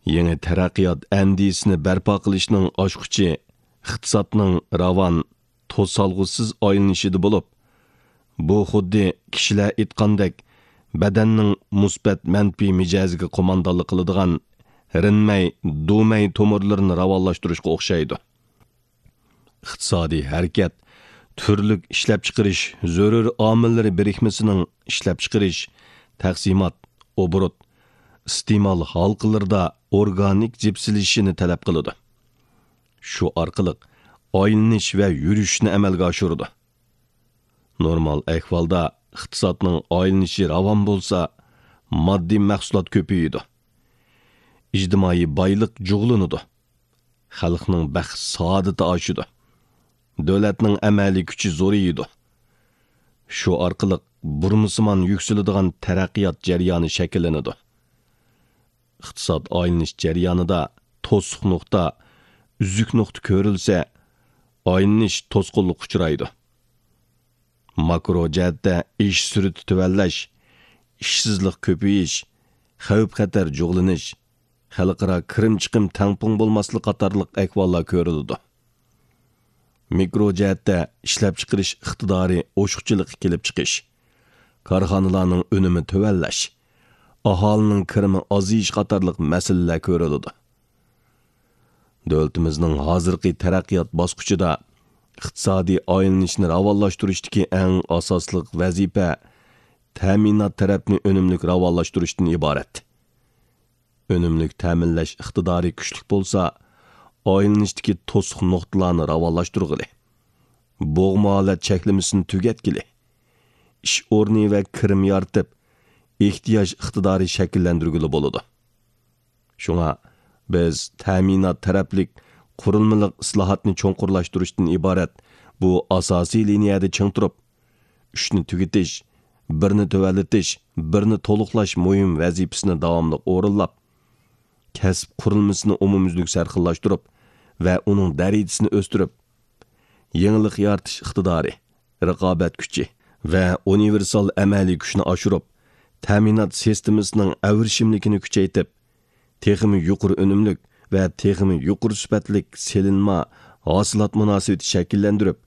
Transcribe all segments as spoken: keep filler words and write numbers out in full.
يېڭى تەرەققىيات ئەندىزىسىنى بەرپا قىلىشنىڭ ئاچقۇچى ئىقتىسادنىڭ راۋان، توسالغۇسىز ئايلىنىشىدا بولۇپ، بۇ خۇددى كىشىلەر ئېيتقاندەك، بەدەننىڭ مۇسبەت مەنپىي مىجەزىگە قوماندانلىق قىلىدىغان رېنمەي، دۇمەي تومۇرلىرىنى راۋانلاشتۇرۇشقا ئوخشايدۇ. ئىقتىسادىي ھەرىكەت تۈرلۈك ئىشلەپچىقىرىش زۆرۈر ئامىللىرى بىرىكمىسىنىڭ ئىشلەپچىقىرىش، تەقسىمات، ئوبوروت، ئىستېمال ھالقىلىرىدا ئورگانىك جىپسىلىشىشىنى تەلەپ قىلىدۇ. شۇ ئارقىلىق ئايلىنىش ۋە يۈرۈشنى ئەمەلگە ئاشۇرىدۇ. نورمال ئەھۋالدا ئىقتىسادنىڭ ئايلىنىشى راۋان بولسا، ماددىي مەھسۇلات كۆپىيىدۇ. ئىجتىمائىي بايلىق جۇغلىنىدۇ. خەلقنىڭ بەخت-سائادىتى ئاشىدۇ. دۆلەتنىڭ ئەمەلىي كۈچى زورىيىدۇ. شۇ ئارقىلىق بۇرمىسىمان يۈكسىلىدىغان تەرەققىيات جەريانى شەكىللىنىدۇ. ئىقتىساد ئايلىنىش جەريانىدا توسۇق نۇقتا، ئۈزۈك نۇقتا كۆرۈلسە، ئايلىنىش توسقۇنلۇققا ئۇچرايدۇ. ماكرو جەھەتتە ئىش سۈرئىتى تۆۋەنلەش، ئىشسىزلىق كۆپىيىش، خەۋپ-خەتەر جۇغلىنىش، خەلقئارا كىرىم-چىقىم تەڭپۇڭ بولماسلىق قاتارلىق ئەھۋاللار كۆرۈلىدۇ. مىكرو جەھەتتە ئىشلەپچىقىرىش ئىقتىدارى ئوشۇقچىلىقى كېلىپ چىقىش، كارخانىلارنىڭ ئۈنۈمى تۆۋەنلەش، ئاھالىنىڭ كىرىمى ئازىيىش قاتارلىق مەسىلىلەر كۆرۈلىدۇ. دۆلىتىمىزنىڭ ھازىرقى تەرەققىيات باسقۇچىدا ئىقتىسادىي ئايلىنىشنى راۋانلاشتۇرۇشتىكى ئەڭ ئاساسلىق ۋەزىپە تەمىنات تەرەپنى ئۈنۈملۈك راۋانلاشتۇرۇشتىن ئىبارەت. ئۈنۈملۈك تەمىنلەش ئىقتىدارى كۈچلۈك بولسا، ئايلىنىشتىكى توسۇق نۇقتىلارنى راۋانلاشتۇرغىلى، بوغما ھالەت چەكلىمىسىنى تۈگەتكىلى، ئىش ئورنى ۋە كىرىم يارىتىپ، ئېھتىياج ئىقتىدارى شەكىللەندۈرگىلى بولىدۇ. شۇڭا بىز تەمىنات تەرەپلىك قۇرۇلمىلىق ئىسلاھاتنى چوڭقۇرلاشتۇرۇشتىن ئىبارەت بۇ ئاساسىي لىنىيەدە چىڭ تۇرۇپ، ئۈچنى تۈگىتىش، بىرنى تۆۋەنلىتىش، بىرنى تولۇقلاش مۇھىم ۋەزىپىسىنى داۋاملىق ئورۇنلاپ، كەسىپ قۇرۇلمىسىنى ئومۇميۈزلۈك سەرخىللاشتۇرۇپ ۋە ئۇنىڭ دەرىجىسىنى ئۆستۈرۈپ، يېڭىلىق يارىتىش ئىقتىدارى، رىقابەت كۈچى ۋە ئۇنىۋېرسال ئەمەلىي كۈچنى ئاشۇرۇپ، تەمىنات سىستېمىسىنىڭ ئەۋرىشىملىكىنى كۈچەيتىپ، تېخىمۇ يۇقىرى ئۈنۈملۈك ۋە تېخىمۇ يۇقىرى سۈپەتلىك سېلىنما ھاسىلات مۇناسىۋىتى شەكىللەندۈرۈپ،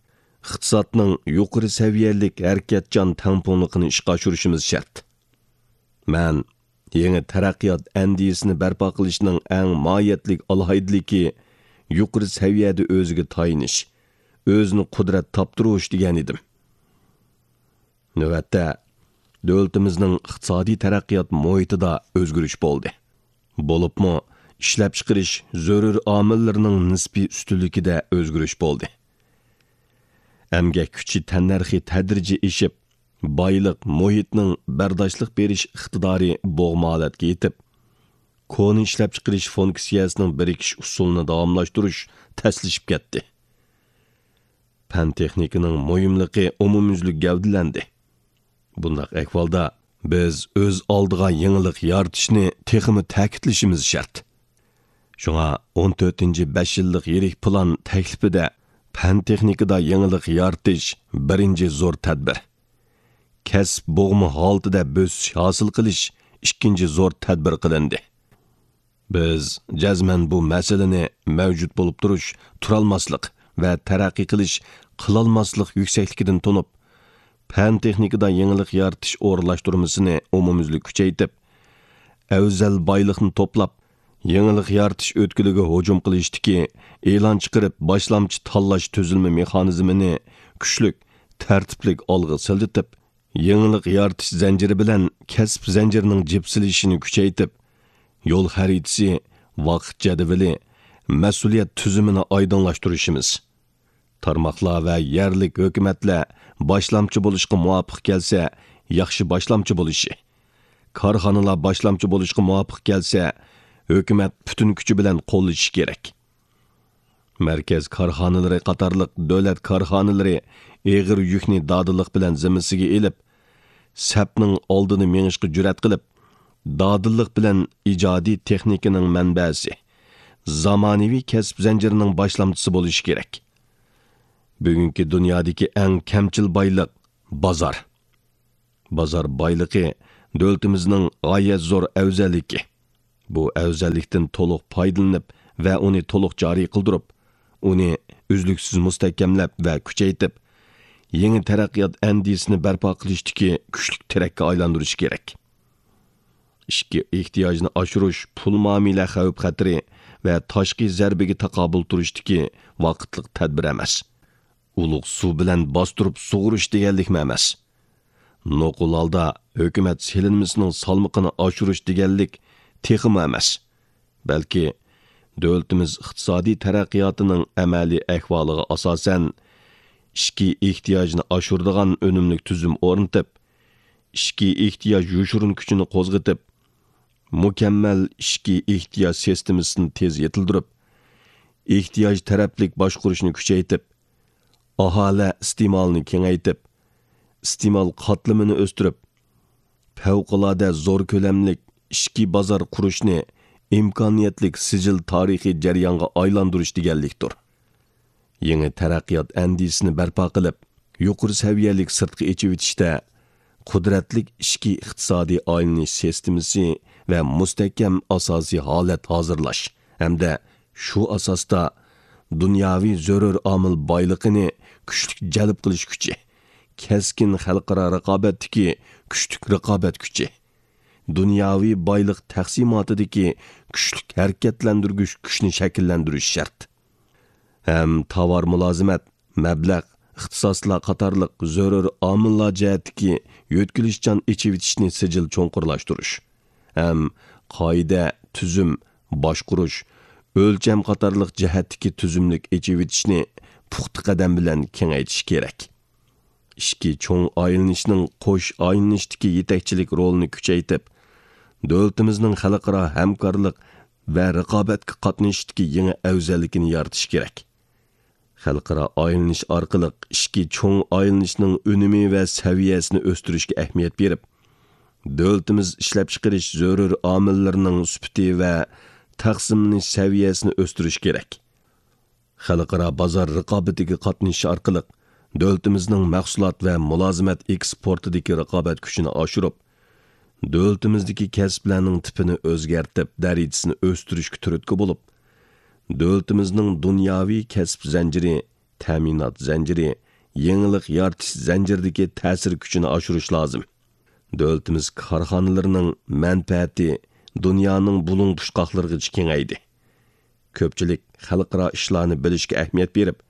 ئىقتىسادنىڭ يۇقىرى سەۋىيەلىك ھەرىكەتچان تەڭپۇڭلۇقىنى ئىشقا ئاشۇرۇشىمىز شەرت. مەن يېڭى تەرەققىيات ئەندىزىسىنى بەرپا قىلىشنىڭ ئەڭ ماھىيەتلىك ئالاھىدىلىكى يۇقىرى سەۋىيەدە ئۆزىگە تايىنىش، ئۆزىنى قۇدرەت تاپتۇرۇش دېگەن ئىدىم. نۆۋەتتە، دۆلىتىمىزنىڭ ئىقتىسادىي تەرەققىيات مۇھىتىدا ئۆزگىرىش بولدى. بولۇپمۇ ئىشلەپچىقىرىش زۆرۈر ئامىللىرىنىڭ نىسپىي ئۈستۈنلۈكىدە ئۆزگىرىش بولدى. ئەمگەك كۈچى تەننەرخى تەدرىجىي ئېشىپ، بايلىق مۇھىتنىڭ بەرداشلىق بېرىش ئىقتىدارى بوغما ھالەتكە يېتىپ، كونا ئىشلەپچىقىرىش فۇنكسىيەسىنىڭ بىرىكىش ئۇسۇلىنى داۋاملاشتۇرۇش تەسلىشىپ كەتتى. پەن-تېخنىكىنىڭ مۇھىملىقى ئومۇميۈزلۈك گەۋدىلەندى. بۇنداق ئەھۋالدا بىز ئۆز ئالدىغا يېڭىلىق يارىتىشنى تېخىمۇ تەكىتلىشىمىز شەرت. شۇڭا ئون تۆتىنچى بەش يىللىق يىرىك پىلان تەكلىپىدە پەن-تېخنىكىدا يېڭىلىق يارىتىش بىرىنچى زور تەدبىر، كەسىپ بوغما ھالىتىدە بۆسۈش ھاسىل قىلىش ئىككىنچى زور تەدبىر قىلىندى. بىز جەزمەن بۇ مەسىلىنى مەۋجۇت بولۇپ تۇرۇش، تۇرالماسلىق ۋە تەرەققىي قىلىش، قىلالماسلىق يۈكسەكلىكىدىن تونۇپ، پەن-تېخنىكىدا يېڭىلىق يارىتىش ئورۇنلاشتۇرمىسىنى ئومۇميۈزلۈك كۈچەيتىپ، ئەۋزەل بايلىقنى توپلاپ، يېڭىلىق يارىتىش ئۆتكىلىگە ھۇجۇم قىلىشتىكى ئېلان چىقىرىپ باشلامچى تاللاش تۈزۈلمە مېخانىزمىنى كۈچلۈك، تەرتىپلىك ئالغا سىلجىتىپ، يېڭىلىق يارىتىش زەنجىرى بىلەن كەسىپ زەنجىرىنىڭ جىپسىلىشىشىنى كۈچەيتىپ، يول خەرىتىسى، ۋاقىت جەدۋىلى، مەسئۇلىيەت تۈزۈمىنى ئايدىڭلاشتۇرۇشىمىز، تارماقلار ۋە يەرلىك ھۆكۈمەتلەر باشلامچى بولۇشقا مۇۋاپىق كەلسە، ياخشى باشلامچى بولۇشى، كارخانىلار باشلامچى بولۇشقا مۇۋاپىق كەلسە، ھۆكۈمەت پۈتۈن كۈچى بىلەن قوللىشى كېرەك. مەركەز كارخانىلىرى قاتارلىق دۆلەت كارخانىلىرى ئېغىر يۈكنى دادىللىق بىلەن زىممىسىگە ئېلىپ، سەپنىڭ ئالدىدا مېڭىشقا جۈرئەت قىلىپ، دادىللىق بىلەن ئىجادىي تېخنىكىنىڭ مەنبەسى، زامانىۋى كەسىپ زەنجىرىنىڭ باشلامچىسى بولۇشى كېرەك. بۈگۈنكى دۇنيادىكى ئەڭ كەمچىل بايلىق بازار. بازار بايلىقى دۆلىتىمىزنىڭ غايەت زور ئەۋزەللىكى. بۇ ئەۋزەللىكتىن تولۇق پايدىلىنىپ ۋە ئۇنى تولۇق جارى قىلدۇرۇپ، ئۇنى ئۈزلۈكسىز مۇستەھكەملەپ ۋە كۈچەيتىپ، يېڭى تەرەققىيات ئەندىزىسىنى بەرپا قىلىشتىكى كۈچلۈك تىرەككە ئايلاندۇرۇش كېرەك. ئىچكى ئېھتىياجنى ئاشۇرۇش پۇل مۇئامىلە خەۋپ-خەتىرى ۋە تاشقى زەربىگە تاقابىل تۇرۇشتىكى ۋاقىتلىق تەدبىر ئەمەس. ئۇلۇغ سۇ بىلەن باستۇرۇپ سۇغۇرۇش دېگەنلىكمۇ ئەمەس. نوقۇل ھالدا ھۆكۈمەت سېلىنمىسىنىڭ سالمىقىنى ئاشۇرۇش دېگەنلىك تېخىمۇ ئەمەس. بەلكى دۆلىتىمىز ئىقتىسادىي تەرەققىياتىنىڭ ئەمەلىي ئەھۋالىغا ئاساسەن، ئىچكى ئېھتىياجنى ئاشۇرىدىغان ئۈنۈملۈك تۈزۈم ئورنىتىپ، ئىچكى ئېھتىياج يوشۇرۇن كۈچىنى قوزغىتىپ، مۇكەممەل ئىچكى ئېھتىياج سىستېمىسىنى تېز يېتىلدۈرۈپ، ئېھتىياج تەرەپلىك باشقۇرۇشنى كۈچەيتىپ، ئاھالە ئىستېمالىنى كېڭەيتىپ، ئىستېمال قاتلىمىنى ئۆستۈرۈپ، پەۋقۇلئاددە زور كۆلەملىك ئىچكى بازار قۇرۇشنى ئىمكانىيەتلىك سىجىل تارىخىي جەريانغا ئايلاندۇرۇش دېگەنلىكتۇر. يېڭى تەرەققىيات ئەندىزىسىنى بەرپا قىلىپ، يۇقىرى سەۋىيەلىك سىرتقا ئېچىۋېتىشتە، قۇدرەتلىك ئىچكى ئىقتىسادىي ئايلىنىش سىستېمىسى ۋە مۇستەھكەم ئاساسىي ھالەت ھازىرلاش ھەمدە شۇ ئاساستا دۇنياۋى زۆرۈر ئامىل بايلىقىنى كۈچلۈك جەلپ قىلىش كۈچى، كەسكىن خەلقئارا رىقابەتتىكى كۈچلۈك رىقابەت كۈچى، دۇنياۋى بايلىق تەقسىماتىدىكى كۈچلۈك ھەرىكەتلەندۈرگۈچ كۈچنى شەكىللەندۈرۈش شەرت. ھەم تاۋار مۇلازىمەت، مەبلەغ، ئىختىساسلار قاتارلىق زۆرۈر ئامىللار جەھەتتىكى يۆتكىلىشچان ئېچىۋېتىشنى سىجىل چوڭقۇرلاشتۇرۇش ھەم قائىدە، تۈزۈم، باشقۇرۇش، ئۆلچەم قاتارلىق جەھەتتىكى تۈزۈملۈك ئېچىۋېتىشنى پۇختا قەدەم بىلەن كېڭەيتىش كېرەك. ئىچكى چوڭ ئايلىنىشنىڭ قوش ئايلىنىشتىكى يېتەكچىلىك رولىنى كۈچەيتىپ، دۆلىتىمىزنىڭ خەلقئارا ھەمكارلىق ۋە رىقابەتكە قاتنىشىشتىكى يېڭى ئەۋزەللىكىنى يارىتىش كېرەك. خەلقئارا ئايلىنىش ئارقىلىق ئىچكى چوڭ ئايلىنىشنىڭ ئۈنۈمى ۋە سەۋىيەسىنى ئۆستۈرۈشكە ئەھمىيەت بېرىپ، دۆلىتىمىز ئىشلەپچىقىرىش زۆرۈر ئامىللىرىنىڭ سۈپىتى ۋە تەقسىملىنىش سەۋىيەسىنى ئۆستۈرۈش كېرەك. خەلقئارا بازار رىقابىتىگە قاتنىشىش ئارقىلىق دۆلىتىمىزنىڭ مەھسۇلات ۋە مۇلازىمەت ئېكسپورتىدىكى رىقابەت كۈچىنى ئاشۇرۇپ، دۆلىتىمىزدىكى كەسىپلەرنىڭ تىپىنى ئۆزگەرتىپ، دەرىجىسىنى ئۆستۈرۈشكە تۈرتكە بولۇپ، دۆلىتىمىزنىڭ دۇنياۋى كەسىپ زەنجىرى، تەمىنات زەنجىرى، يېڭىلىق يارىتىش زەنجىرىدىكى تەسىر كۈچىنى ئاشۇرۇش لازىم. دۆلىتىمىز كارخانىلىرىنىڭ مەنپەئەتى دۇنيانىڭ بۇلۇڭ-پۇچقاقلىرىغىچە كېڭەيدى. كۆپچىلىك خەلقئارا ئىشلارنى بىلىشكە ئەھمىيەت بېرىپ،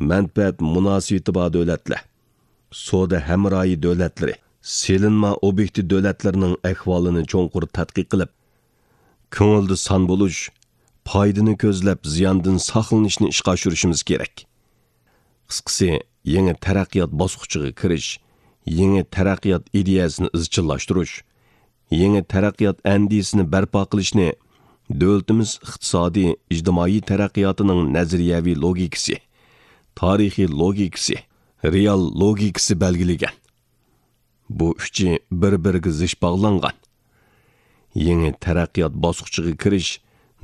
مەنپەئەت مۇناسىۋىتى بار دۆلەتلەر، سودا ھەمراھى دۆلەتلىرى، سېلىنما ئوبيېكتى دۆلەتلىرىنىڭ ئەھۋالىنى چوڭقۇر تەتقىق قىلىپ، كۆڭۈلدە سان بولۇش، پايدىنى كۆزلەپ، زىياندىن ساقلىنىشنى ئىشقا ئاشۇرۇشىمىز كېرەك. قىسقىسى، يېڭى تەرەققىيات باسقۇچىغا كىرىش، يېڭى تەرەققىيات ئىدىيەسىنى ئىزچىللاشتۇرۇش، يېڭى تەرەققىيات ئەندىزىسىنى بەرپا قىلىشنى دۆلىتىمىز ئىقتىسادىي، ئىجتىمائىي تەرەققىياتىنىڭ نەزەرىيەۋى لوگىكىسى، تارىخىي لوگىكىسى، رېئال لوگىكىسى بەلگىلىگەن. بۇ ئۈچى بىر-بىرىگە زىچ باغلانغان. يېڭى تەرەققىيات باسقۇچىغا كىرىش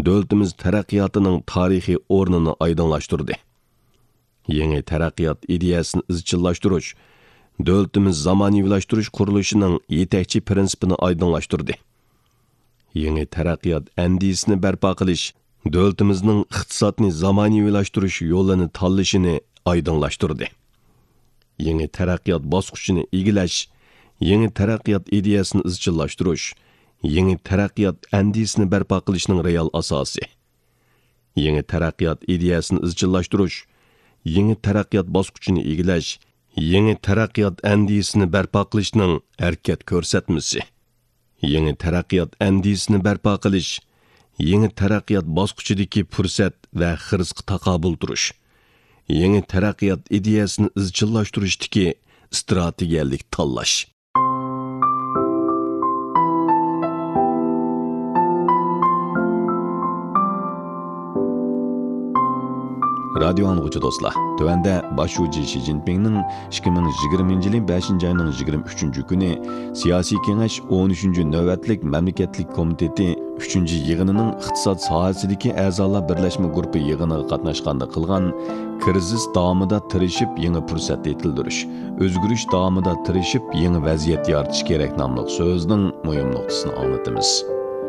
دۆلىتىمىز تەرەققىياتىنىڭ تارىخىي ئورنىنى ئايدىڭلاشتۇردى. يېڭى تەرەققىيات ئىدىيەسىنى ئىزچىللاشتۇرۇش دۆلىتىمىز زامانىۋىلاشتۇرۇش قۇرۇلۇشىنىڭ يېتەكچى پىرىنسىپىنى ئايدىڭلاشتۇردى. يېڭى تەرەققىيات ئەندىزىسىنى بەرپا قىلىش دۆلىتىمىزنىڭ ئىقتىسادنى زامانىۋىلاشتۇرۇش يولىنى تاللىشىنى ئايدىڭلاشتۇردى. يېڭى تەرەققىيات باسقۇچىنى ئىگىلەش، يېڭى تەرەققىيات ئىدىيەسىنى ئىزچىللاشتۇرۇش، يېڭى تەرەققىيات ئەندىزىسىنى بەرپا قىلىشنىڭ رېئال ئاساسى. يېڭى تەرەققىيات ئىدىيەسىنى ئىزچىللاشتۇرۇش، يېڭى تەرەققىيات باسقۇچىنى ئىگىلەش، يېڭى تەرەققىيات ئەندىزىسىنى بەرپا قىلىشنىڭ ھەرىكەت كۆرسەتمىسى. يېڭى تەرەققىيات ئەندىزىسىنى بەرپا قىلىش، يېڭى تەرەققىيات باسقۇچىدىكى پۇرسەت ۋە خىرىسقا تاقابىل تۇرۇش، يېڭى تەرەققىيات ئىدىيەسىنى ئىزچىللاشتۇرۇشتىكى ئىستراتېگىيەلىك تاللاش. رادىيو ئاڭلىغۇچى دوستلار، تۆۋەندە باش شۇجى شى جىنپىڭنىڭ ئىككى مىڭ يىگىرمىنچى يىلى بەشىنچى ئاينىڭ يىگىرمە ئۈچىنچى كۈنى سىياسىي كېڭەش ئون ئۈچىنچى نۆۋەتلىك مەملىكەتلىك كومىتېتى ئۈچىنچى يىغىنىنىڭ ئىقتىساد ساھەسىدىكى ئەزالار بىرلەشمە گۇرۇپپا يىغىنىغا قاتناشقاندا قىلغان «كىرىزىس داۋامىدا تىرىشىپ يېڭى پۇرسەت يېتىلدۈرۈش، ئۆزگىرىش داۋامىدا تىرىشىپ يېڭى ۋەزىيەت يارىتىش كېرەك» ناملىق سۆزىنىڭ مۇھىم نۇقتىسىنى ئاڭلىتىمىز.